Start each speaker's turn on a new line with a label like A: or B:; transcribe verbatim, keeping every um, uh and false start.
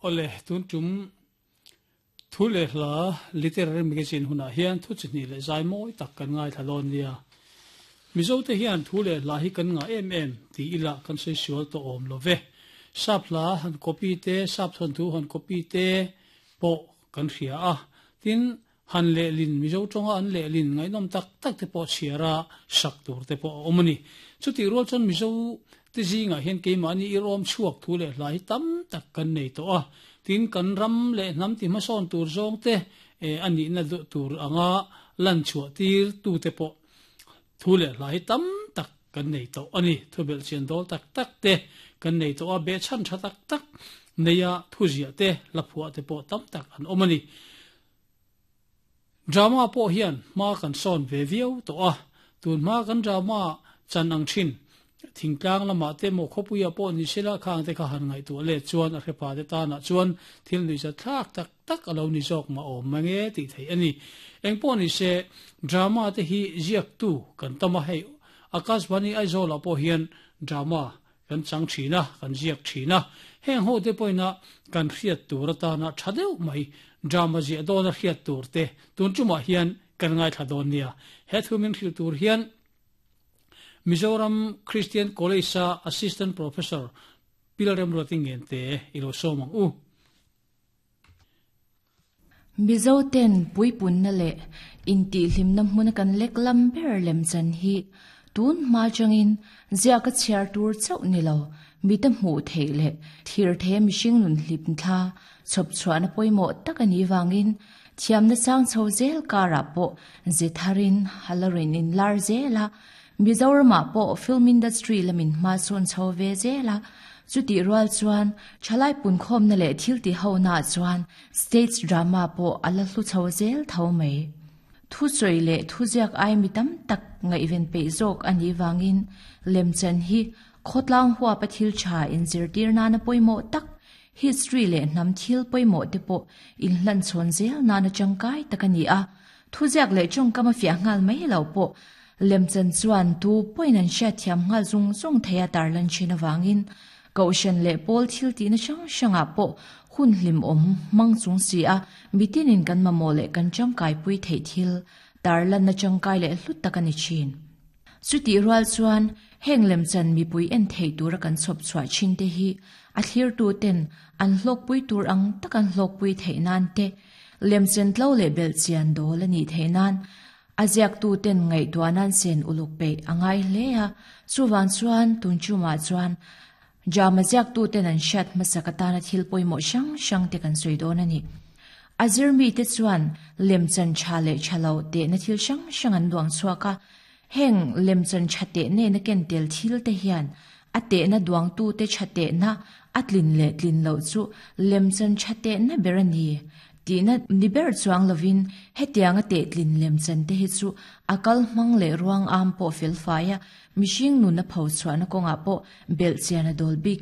A: Ole tun tum thu le hla literary magazine huna hian thu chi ni le zai mawi tak kan ngai thalon nia. Mizo te hian thu le hla hi kan nga em em ti ila kan sei sual to awm lo ve. Sap hla han copy te, sap thon thu han copy te po kan hria a. Tin han le lin Mizo tonga an le lin ngai nom tak tak te po chiara sak tur te po omani. Chuti rual chon Mizo te zinga hian keimahni i rawm chhuak thu le hla hi tam tak kan nei to a. Tin kan ram le hnam ti hmasawn tur zawng te e ani na tur anga lan chhuah tir tu te po thu le hla hi tam tak kan nei to ani. Thu bel chian dol tak tak te kan nei to a, be chan tha tak tak neia thu zia te la phua te po tam tak an omani. Drama po hian ma kan son ve viau to a. Tun ma kan drama chan ang thin thingtlang lama te mo khopuia po ni sela khang te kha han ngai tu le chuan a hrepa te ta na chuan thil ni za thak tak tak alo ni jok ma om mange ti thei ani. Eng po ni se drama te hi ziak tu kan tama hei Akashvani Aizawl po hian drama kan chang thina kan ziak thina heng ho te poina kan hriat tur atana thadeu mai drama zia don a hriat tur te tun chuma hian kan ngai thla don nia. He thumin hril tur hian Mizoram Christian College a Assistant Professor Pilrem Roting te ilo somang u.
B: Mizo ten puipun na le inti hlim na hmun kan lek lam ber lem chan hi tun ma changin zia ka chiar tur chau ni lo mi te hmu thei le thir the mihring nun hlip thla chop chuan poimo takani wangin thiam na chang chho zel kara po zetharin halarin in lar zela Mizoram po film industry lamin ma chon chho ve zela chuti rual chuan chalai pun khom na le thil ti ho na chuan stage drama po ala hlu chho zel tho mai thu choi le thu ziak ai mi tam tak nga event pe zok ani wangin lemchan hi khotlang huwa pathil cha in zirtir na na poimo tak history le nam thil poimo te po in hlan chon zel na na changkai takani a thu ziak le chong kama fia ngal mai lo po lemchan chuan tu poinan sha thiam ngal zung zung theya tarlan china wangin kaushan le pol thil ti na sang sanga po hun hlim om mang chung si a mitinin kan mamole kan changkai pui thei thil tarlan na changkai le hlut takani chin chuti rual chuan heng lemchan mi pui en thei tura kan chop chua chin te hi a thlir tu ten an hlok pui tur ang takan hlok pui thei nan te lemchan tlo le bel chian dol ani thei nan aziak tu ten ngai tuanan sen uluk pe angai hle a chuwan chuan tun chuma chuan jama ziak tu ten an shat masakatana thil poimo sang sang te kan soi don ani azir mi te chuan lemchan chale chalo te na thil sang sang an duang chuaka heng lemchan chate ne na ken tel thil te hian ate na duang tu te chate na atlin le tlin lo chu lemchan chate na berani ti na niber chuang lovin hetiang ate tlin lemchan te hi chu akal mang le ruang am po fel faya mihring nu na pho chuan konga po bel chian a dol bik